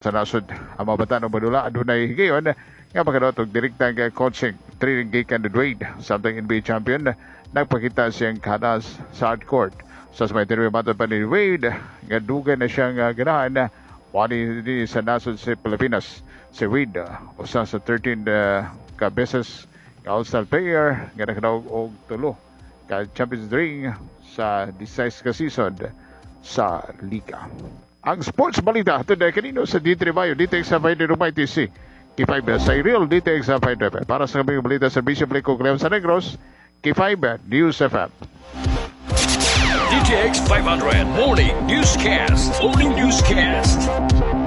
Sa nasod. Ang mga bata ng Manula adunay higayon nga makadaot og direktang coaching training gikan ni Wade. Samtang NBA champion, nagpakita siyang kanas sa hard court. Sa may interview, matod pa ni Wade nga dugay na siyang ganahan wali din sa nasod sa Pilipinas. Si Wade, usa sa 13 ka beses nga All-Star player nga nakadaog og tulo ka Champions Ring sa 16 ka season sa liga. Ang sports balita today kanino sa D3 Bayo, DTX sa 5 Rumay TC. K5 sa Real DTX sa 5. Para sa kaming balita serbisyo publiko Graham sa Negros, K5 News FM. DTX 500 Morning Newscast. Morning Newscast.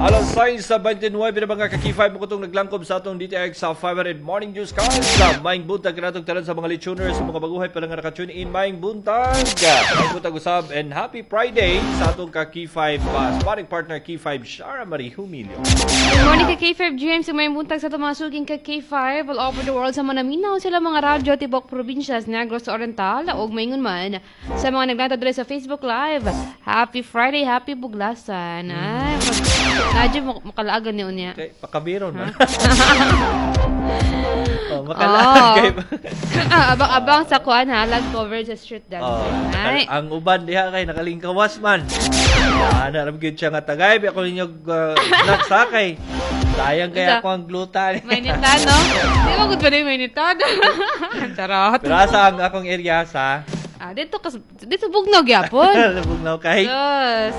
Alas 6:29 na, mga ka-K5, mo kutong naglangkob sa atong DTX sa 500 Morning Newscast. Maayong buntag kanatong tanan sa mga listeners, sa mga baguhay pa lang nga naka-tune in. Maayong buntag. Maayong buntag usab and happy Friday sa atong ka-K5 sparring partner, K5 Shara Marie Humilio. Good morning ka K5 James, maayong buntag sa atong mga suking ka K5 all over the world, sa mga naminaw sila mga radyo tibok probinsya sa Negros Oriental ug maingon man sa mga naglantaw diri sa Facebook Live. Happy Friday, happy buglasan. Ay, Nadyo mo makalaagan ni unya. Okay, pakabiron man. Oh, makalaan kay Abang-abang sa kuan ha, lag cover sa street dance. Oh, Ay. ang uban diha kay nakalingkawas man. Ana ra gyud siya nga tagay bi ako ninyo nagsakay. Sayang kaya ako ang gluta. Mainitan, no? Di ba good pa rin mainitan? Charot. Pero asa ang akong area sa Ah, dito kas dito bugnaw gyapon. Bugnaw kay. Yes.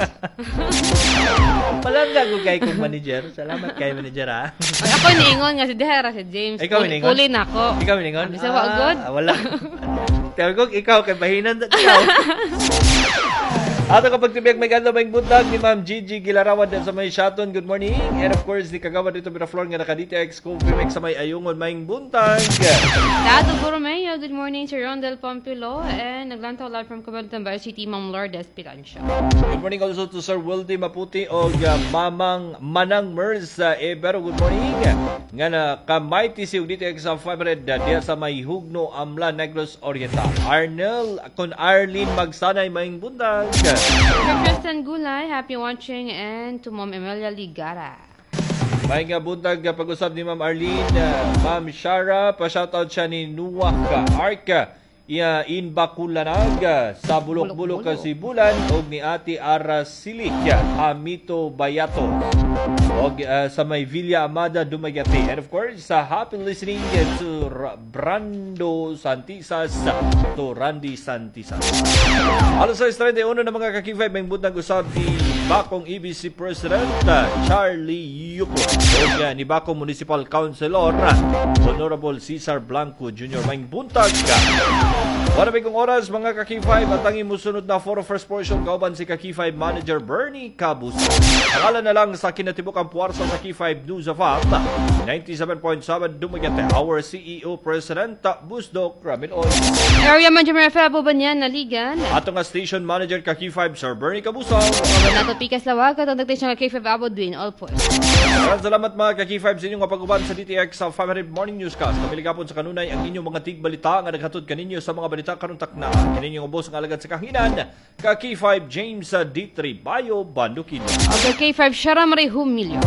Palangga ko kay kong manager. Salamat kay manager ha. Ay, ako niingon nga si Dehera si James. Ikaw niingon? Puli na ako. Ikaw niingon? Bisa wa good? Ah, wala. Tawag ko ikaw kay bahinan sa ikaw. Ato kapag tibiyag may ganda may buntag ni Ma'am Gigi Gilarawan din sa may Shaton. Good morning. And of course, ni Kagawad dito Miraflor nga naka-DTX Coffee Mix sa may Ayungon. May buntag. Dato Borromeo, good morning, Sir Rondel Pompilo, and naglantaw live from Cabaltan City, Ma'am Lourdes Pilancio. Good morning also to Sir Wildy Maputi o Mamang Manang Mers Ebero. Good morning. Nga na kamighty si DTX sa 500 diya sa may Hugno, Amla, Negros Oriental. Arnel kon Arlene Magsanay, may buntag. Sir Tristan Gulay, happy watching, and to Ma'am Emilia Ligara. May nga buntag pag-usab ni Ma'am Arlene, Ma'am Shara, pa-shoutout siya ni Nuwak Arka iya in Bakulanag sa Bulok-Bulok Kasibulan og ni Ate Ara Silik Hamito Bayato og sa may Villa Amada, Dumaguete. And of course, sa happy listening to Brando Santisas, to Randy Santisas. Alas 6:31 na, mga ka-K5, may buntag usab ni Bakong EBC President Charlie Yuko ug ni Bakong Municipal Councilor Honorable Cesar Blanco Jr. May buntag ka. Wala may kong oras, mga ka-K5, at ang imusunod na for first portion kauban si ka-K5 Manager Bernie Cabus. Akala na lang sa kinatibuk ang puwersa sa K5 News of Up 97.7 Dumaguete, our CEO President Busdok Ramil Oy. Area Manager Febo Banyan Naligan. Ato nga Station Manager ka K5 Sir Bernie Cabusao. Nato Pikas Lawag at ang nagtation ka K5 Abo Dwin Alpos. Maraming salamat, mga ka-K5, sa inyong pag-uban sa DTX sa 500 Morning Newscast. Kamiligapon sa kanunay ang inyong mga tigbalita nga naghatod kaninyo sa mga balita karon takna. Kaninyong ubos ang alagad sa kahanginan, ka K5 James D3 Bayo Bandukin. Okay, K5 Shara Marie Humilio.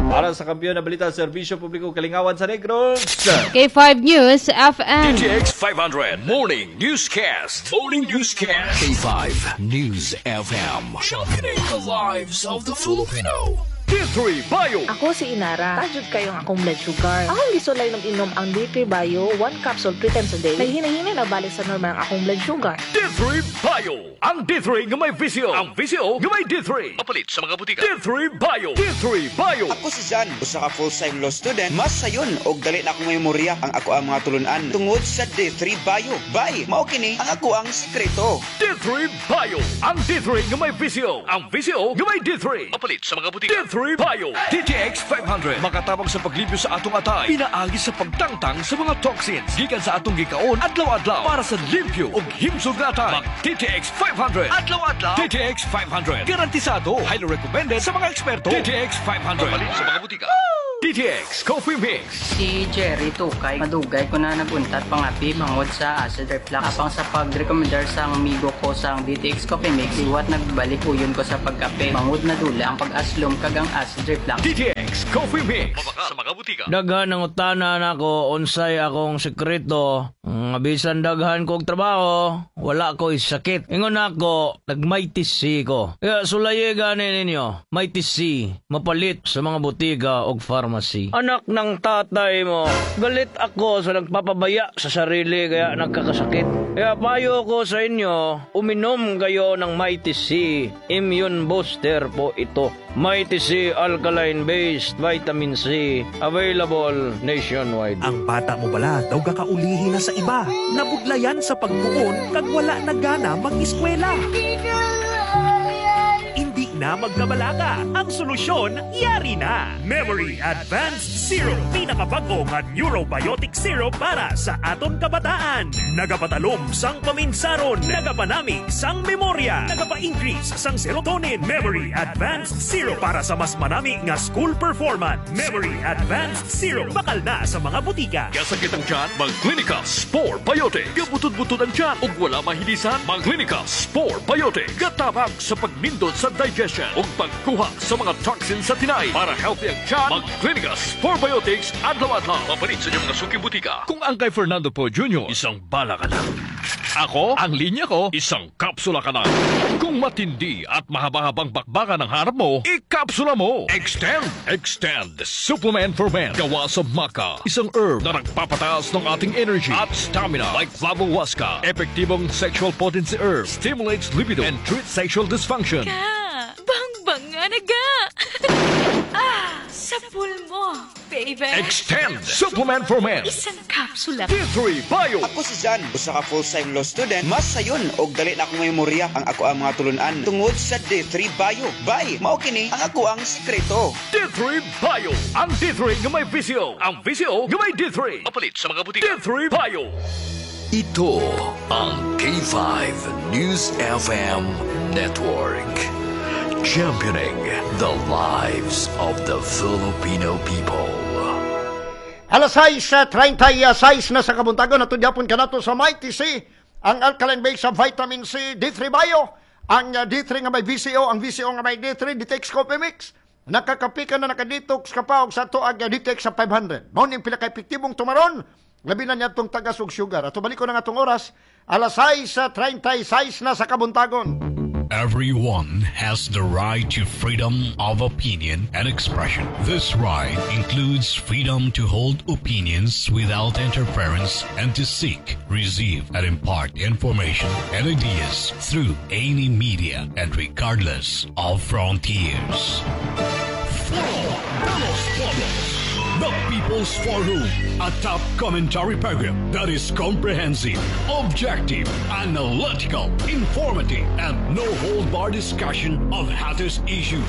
Para sa kampiyon na balita sa serbisyo publiko kalingawan sa Negros. K5 News FM. DTX 500 Morning Newscast. Morning Newscast. K5 News FM. Championing the lives of the Filipino. D3 Bio. Ako si Inara. Tajud kayo ang akong blood sugar. Akong gisulay ng inom ang D3 Bio, one capsule three times a day. Naghinay-hinay na balik sa normal ang akong blood sugar. D3 Bio. Ang D3 nga may VCO. Ang VCO nga may D3. Mapalit sa mga butika. D3 Bio. D3 Bio. Ako si Jan, usa ka full-time law student. Mas sayon og dali na akong memorya ang ako ang mga tulunan tungod sa D3 Bio. Bay, mao kini ang ako ang sekreto. D3 Bio. Ang D3 nga may VCO. Ang VCO nga may D3. Mapalit sa mga butika. D3 Bio. DTX 500. Makatabang sa paglibyo sa atong atay. Pinaagi sa pagtangtang sa mga toxins. Gikan sa atong gikaon adlaw-adlaw para sa limpyo ug himsog nga atay. Mag DTX 500. Adlaw-adlaw. DTX 500. Garantisado. Highly recommended sa mga eksperto. DTX 500. Mapalit sa mga butika. DTX Coffee Mix. Si Jerry Tukay, madugay ko na naguntat pangapi bangod sa acid reflux. Apang sa pag-recommendar sa amigo ko sa DTX Coffee Mix, iwat nagbalik uyon ko sa pagkape. Bangod na dula ang pag-aslom kag ang acid reflux. DTX Coffee Mix. Mabaka sa mga butika. Daghan ang utana nako unsay akong sekreto. Nga bisan daghan kog trabaho, wala ko sakit. Ingon ako, nag-Mighty C ko. Kaya sulayi gani ninyo, Mighty C, mapalit sa mga butika og pharmacy. Anak ng tatay mo, galit ako sa nagpapabaya sa sarili kaya nagkakasakit. Kaya payo ko sa inyo, uminom kayo ng Mighty C. Immune booster po ito. Mighty C Alkaline-Based Vitamin C. Available nationwide. Ang bata mo bala daw kakaulihi na sa iba. Nabudlayan sa pagtuon kag wala na gana mag-eskwela. Hindi na magkabalaka. Ang solusyon, yari na. Memory Advanced Syrup. Pinakabago nga neurobiotic syrup para sa aton kabataan. Nagapatalom sang paminsaron. Nagapanamig sang memorya. Nagapa-increase sang serotonin. Memory Advanced Syrup para sa mas manami nga school performance. Memory Advanced Syrup. Bakal na sa mga butika. Gasakit ang tiyan, mag-Clinica Spore Biotic. Gabutod-butod ang tiyan ug wala mahilisan, mag-Clinica Spore Biotic. Gatabang sa pagnindot sa digestion ug pagkuha sa mga toxins sa tinay. Para healthy ang tiyan, mag-Clinica Spore Biotics adlaw-adlaw. Papalit sa inyong mga suki butika. Kung ang kay Fernando Poe Jr., isang bala ka lang. Ako, ang linya ko, isang kapsula ka lang. Kung matindi at mahaba-habang bakbakan ang harap mo, ikapsula mo. Extend! Extend! Supplement for Men. Gawa sa maca. Isang herb na nagpapataas ng ating energy at stamina like flavohuasca. Epektibong sexual potency herb. Stimulates libido and treats sexual dysfunction. Ka! Bang-bang nga naga! Ah! Sa mo, baby! Extend! Supplement for Men. Isang kapsula. D3 Bio! Ako si Zan, usa ka full-time law student. Mas sayon og dali na akong memorya ang ako ang mga tulunan tungod sa D3 Bio. Bay, mao kini ang ako ang sekreto. D3 Bio! Ang D3 nga may VCO. Ang VCO nga may D3. Mapalit sa mga butika. D3 Bio! Ito ang K5 News FM Network. Championing the lives of the Filipino people. Alas 6:36 na sa kabuntagon, natudyapon ka nato sa Mighty C, ang alkaline base sa vitamin C, D3 Bio, ang D3 nga may VCO, ang VCO nga may D3, DTX Coffee Mix. Nakakapi ka na, nakadetox ka pa, og sa tuag DTX sa 500. Mao ning pinaka-epektibong tumaron, labi na niya itong tagas og sugar. Ato balik ko na nga itong oras, alas 6:36 na sa kabuntagon. Everyone has the right to freedom of opinion and expression. This right includes freedom to hold opinions without interference and to seek, receive, and impart information and ideas through any media and regardless of frontiers. Foro de los Pueblos. The People's Forum, a top commentary program that is comprehensive, objective, analytical, informative, and no-hold-bar discussion of hottest issues.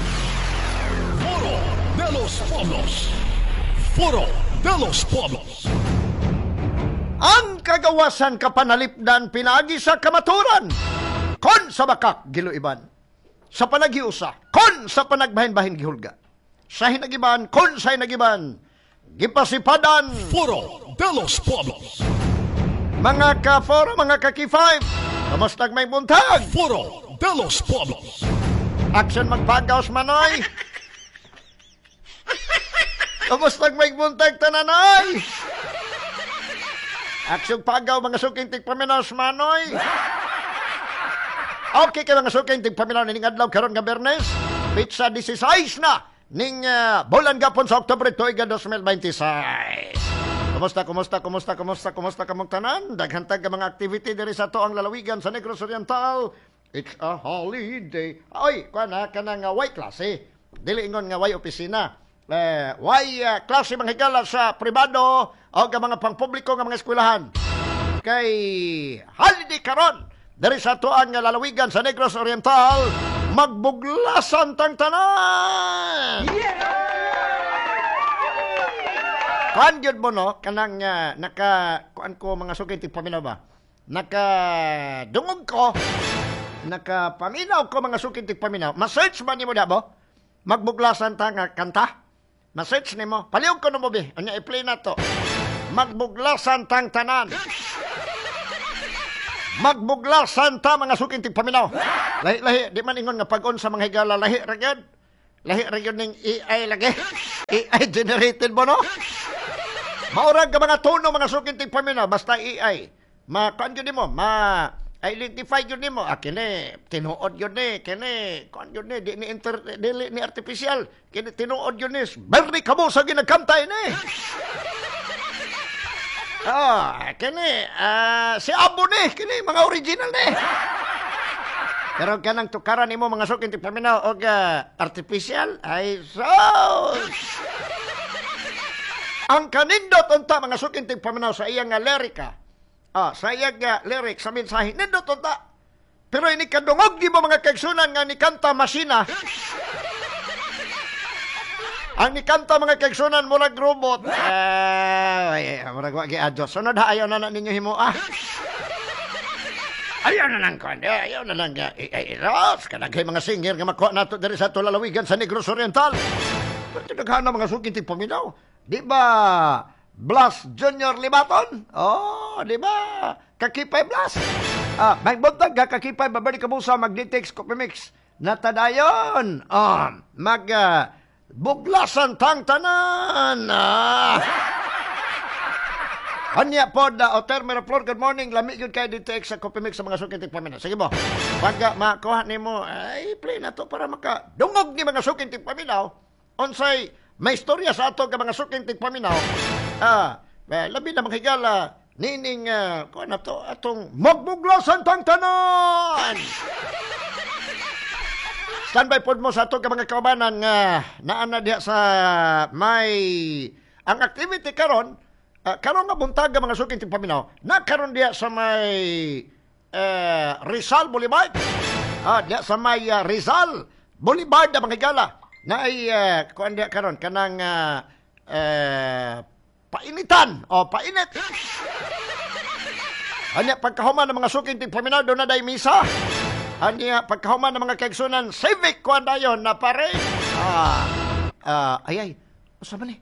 Foro de los Pueblos. Foro de los Pueblos. Ang kagawasan kapanalipdan pinagi sa kamaturan. Kon sa bakak giluiban. Sa panaghiusa, kon sa panagbahin-bahin gihulga. Sa hinagiban, kon sa hinagiban, gipasipadan. Foro de los Pueblos. Mga ka-foro, mga ka-K5, kamustag may buntag? Foro de los Pueblos. Action magpagaos manoy. Kamustag may buntag tananoy. Action pagaw mga suking tigpaminaw manoy. Okay kay mga suking tigpaminaw ning adlaw karon nga Biyernes, petsa 16 na ning bulan gapon sa Oktubre tuig 2026. Kumusta, kumusta, kumusta, kumusta, kumusta kamong tanan? Daghan tag mga activity diri sa ato ang lalawigan sa Negros Oriental. It's a holiday. Oy, kuan ha, kanang way klase. Dili ingon nga way opisina. Way klase mga higala sa pribado o nga mga pangpubliko nga mga eskwelahan. Kay holiday karon diri sa ato ang lalawigan sa Negros Oriental, magbuglasan tang tanan. Yeah! Kuan gyud mo no, kanang naka kuan ko mga sukay tigpaminaw ba? Naka dungog ko, naka paminaw ko mga sukay tigpaminaw. Ma-search ba nimo dabo? Magbuglasan ta nga kanta. Message nimo. Palihog ko no mo bi. Unya i-play na to. Magbuglasan tang tanan. Magbuglasan ta mga suking tigpaminaw. Lahi-lahi di man ingon nga pag-on sa mga higala lahi ra gyud. Lahi ra gyud ning AI lagi. AI generated mo no? Maurag ka mga tono mga suking tigpaminaw basta AI. Ma kuan gyud nimo, ma identify gyud nimo. Ah, kini tinuod gyud ni, kini kuan gyud ni, di ni inter, dili ni artificial. Kini tinuod gyud ni. Bernie Kabusa ginagkanta ini. Ah, kini si Abo ni, kini mga original ni. Pero kanang tukaran nimo mga suking tigpaminaw og artificial ay sus. Ang kanindot unta mga suking tigpaminaw sa iyang nga lirika. Ah, sa iyang nga lyric sa mensahe nindot unta. Pero ini kadungog di mo mga kaigsunan nga ni kanta masina. Ang nikanta mga kaigsunan murag robot. Ay, murag wa giadyo. Sunod ha, ayaw na na ninyo himoa. Ayaw na lang kuan. Ayaw na lang. Ay, Ros, kanagay mga singer nga makuha nato diri sa tulalawigan sa Negros Oriental. Pero daghan na mga suking tigpaminaw. Di ba Blas Junior Libaton? Oh, di ba? Kakipay Blas. Ah, may buntag ka Kakipay babalik ka busa mag-DTX Coffee Mix. Natadayon. Oh, mag buglasan tang tanan. Ah. Anya po da Oter Miraflor, good morning. Lami gyud kay DTX sa Coffee Mix sa mga suking tigpaminaw. Sige mo. Pag makuha nimo, ay play na to para maka dungog ni mga suking tigpaminaw. Unsay may istorya sa ato ka mga suking tigpaminaw. Ah, labi na mga higala nining kuha na to atong magbuglasan tang tanan. Standby pod mo sa ato ka mga kaubanan nga naa na diha sa may ang activity karon. Karon nga buntag mga suking tigpaminaw, nakaron diha sa may Rizal Boulevard. Ah, diha sa may Rizal Boulevard mga higala. Naay kuan diha karon kanang painitan o painit. Anya pagkahuman ng mga suking tigpaminaw doon na day misa. Anya pagkahuman ng mga kaigsunan civic kuan dayon na pare. Ay ay, usa man ni?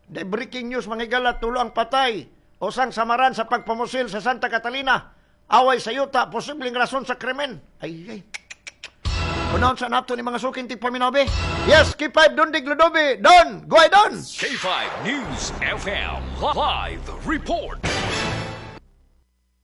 The breaking news mga higala, tulo ang patay. Usang samaran sa pagpamusil sa Santa Catalina. Away sa yuta, posibleng rason sa krimen. Ay ay. Unahon sa nato ni mga suking tigpaminaw be. Yes, K5 Don Digludobi. Don, go ahead Don. K5 News FM Live Report.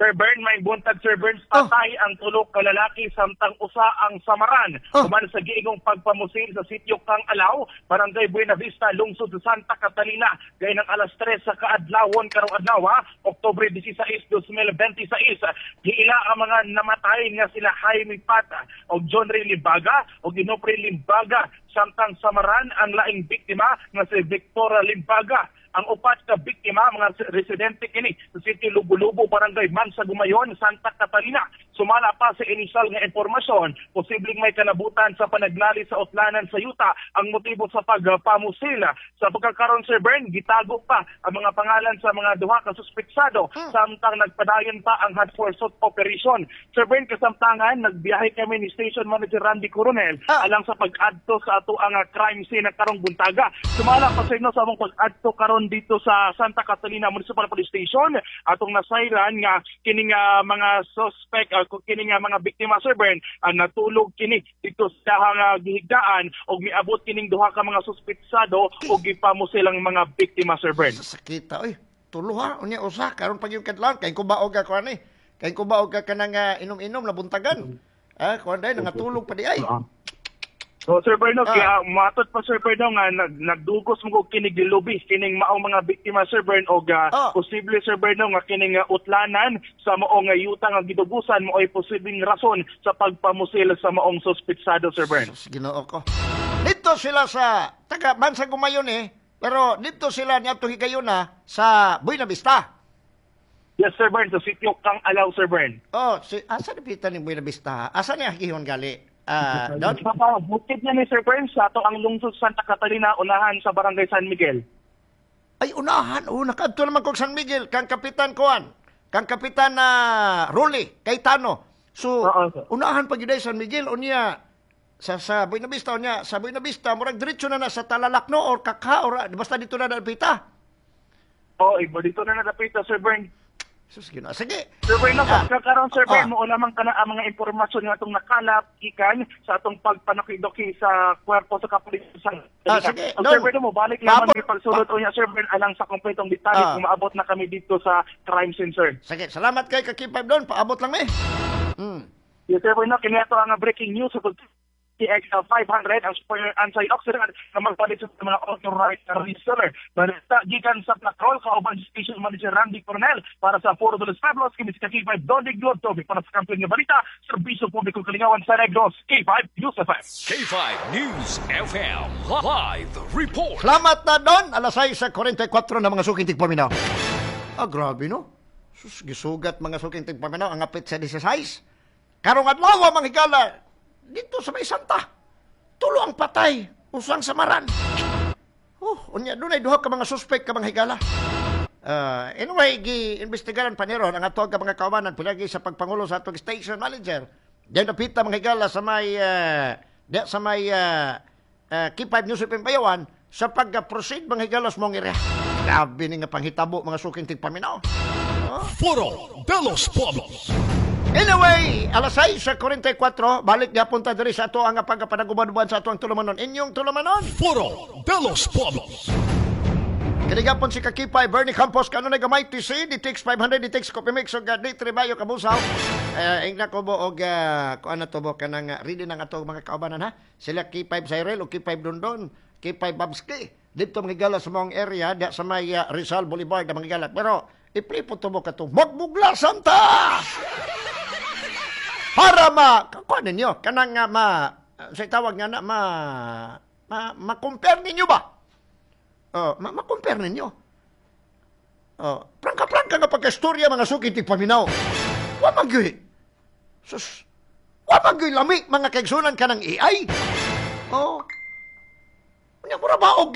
Sir Bern, may buntag Sir Bern, patay ang tulo ka lalaki samtang usa ang samaran. Human sa giingong pagpamusil sa sitio Kang Alaw, Barangay Buena Vista, lungsod sa Santa Catalina, gay ng alas 3 sa kaadlawon karong adlaw, Oktubre 16, 2026. Giila ang mga namatay nga sila Jaime Pata og John Ray Limbaga og Inopre Limbaga, samtang samaran ang laing biktima nga si Victoria Limbaga. Ang upat ka biktima, mga residente kini sa City Lubo-Lubo, Barangay Mansa Gumayon, Santa Catalina. Sumala pa sa inisyal nga impormasyon, posibleng may kanabutan sa panaglali sa utlanan sa yuta ang motibo sa pagpamusil. Sa pagkakaroon, Sir Bern, gitago pa ang mga pangalan sa mga duha ka suspetsado samtang nagpadayon pa ang hot pursuit operation. Sir Bern, kasamtangan, nagbiyahe kami ni Station Manager Randy Coronel alang sa pag-adto sa ato ang crime scene karong buntaga. Sumala pa sa inyo sa among pag-adto karon dito sa Santa Catalina Municipal Police Station, atong nasayran nga kining mga suspect kining mga biktima Sir Bern natulog kini dito sa gihigdaan og miabot kining duha ka mga suspetsado og gipamusil ang mga biktima Sir Bern. Sakita oy, tulo ha unya usa karon pag yung kadlawon kay kubaog ka kuan eh. Kay kubaog ka kanang inom-inom na buntagan. Ah, kuan day nangatulog pa di ay. So Sir Berno, kaya matod pa Sir Berno nga nagdugos mo kinig gilubi kining maong mga biktima Sir Bern og posible Sir Berno nga kining utlanan sa maong yuta nga gidugusan mo ay posibleng rason sa pagpamusil sa maong suspetsado Sir Bern. Ginoo ko. Dito sila sa taga Bansa Gumayon eh, pero dito sila niadto higayuna sa Buena Vista. Yes Sir Bern, sa sitio Kang Alaw Sir Bern. Oh, si asa dipita ni Buena Vista? Asa niya gihon gali? Don? Bukid na ni Sir Bern sa ato ang lungsod Santa Catalina, unahan sa Barangay San Miguel. Ay, unahan? Oh, nakadto naman kog San Miguel, kang Kapitan Kuan, kang Kapitan Ruli, Cayetano. So, unahan pag yun San Miguel, unya, Sa Buena Vista niya, sa Buena Vista murag diretso na na sa Talalak no or Kaka or basta dito na dapita. Oh, iba dito na nadapita, Sir Bern. Sus, ginoo. Sige. Sir Bern, no, karon Sir Bern, mo lamang kana ang mga impormasyon nga atong nakalap gikan sa atong pagpanakidoki sa kwerpo sa kapulisan. Sige. Sir Bern, mo balik lamang pagsulod unya Sir Bern alang sa kompletong detalye kung maabot na kami dito sa crime scene, sir. Sige, salamat kay Ka-K5 Don. Paabot lang mi. Yes, Sir Bern, no, kini ato ang breaking news sa TX 500 ang super antioxidant na magpalit sa mga authorized reseller. Balita gikan sa Patrol kauban si Station Manager Randy Coronel para sa Foro de los Pueblos kini si K5 Don Diglo Toby para sa kampiyon nga balita, serbisyo publiko kalingawan sa Negros, K5 News FM. K5 News FM Live Report. Salamat na Don. Alas 6:44 na mga suking tigpaminaw. Ah, grabe no. Sus, gisugat mga suking tigpaminaw ang apit sa 16. Karong adlaw mga higala dito sa may Santa. Tulo ang patay, usang samaran. Unya dunay duha ka mga suspect ka mga higala. Anyway, gi-imbestigaran pa ni ron ang ato ka mga kaubanan pinagi sa pagpangulo sa atong station manager. Diyan napita mga higala sa may K5 News FM Bayawan sa pag-proceed mga higala sa mong area. Grabe ni nga panghitabo mga suking tigpaminaw. Foro de los Pueblos. Anyway, alas 6:44, balik gyapon ta diri sa ato ang pagpanaguban-uban sa ato ang tulumanon. Inyong tulumanon. Foro de los Pueblos. Kini gapon si Kakipay Bernie Campos kanunay gamay TC DTX 500 DTX Coffee Mix og D3 Bayo kabusaw. Ingna ko bo og kuan na to bo kanang ready na nga ato mga kaubanan ha. Sila K5 Cyril og K5 Dondon, K5 Babski. Dito mga higala sa mong area diha sa may Rizal Boulevard mga higala. Pero i-play po to bo katong magbuglasan ta. Para ma kuan ninyo kanang ma sa tawag nga na ma-compare ninyo ba? Oh, ma-compare ninyo. Oh, prangka-prangka nga pagka-istorya mga suki tigpaminaw. Wa man gyud. Sus. Wa man gyud lami mga kaigsunan kanang AI. Oh. Unya mura ba og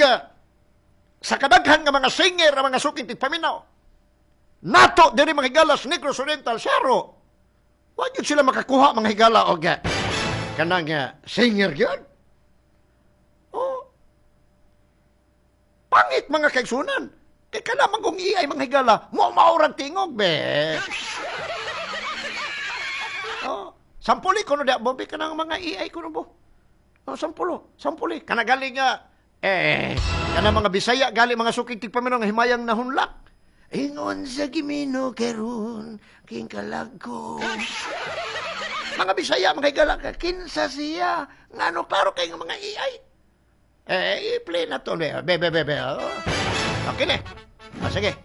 sa kadaghan nga mga singer ang mga suki tigpaminaw. Nato diri mga higala sa Negros Oriental Saro. Wa gyud sila makakuha mga higala og kanang singer gyud. Oh. Pangit mga kaigsunan. Kay kana man kung AI mga higala, mo maurang tingog be. Oh, sampuli kuno dia bobi kanang mga AI kuno bo. Oh, sampuli. Kana gali nga kana mga Bisaya gali mga suking tigpaminaw nga himayang nahunlak. Ingon sa gimino karon king kalag ko. Mga Bisaya mga higala ka kinsa siya ngano klaro kay nga mga AI. I-play na to. Be. Oh. Okay na. Sige.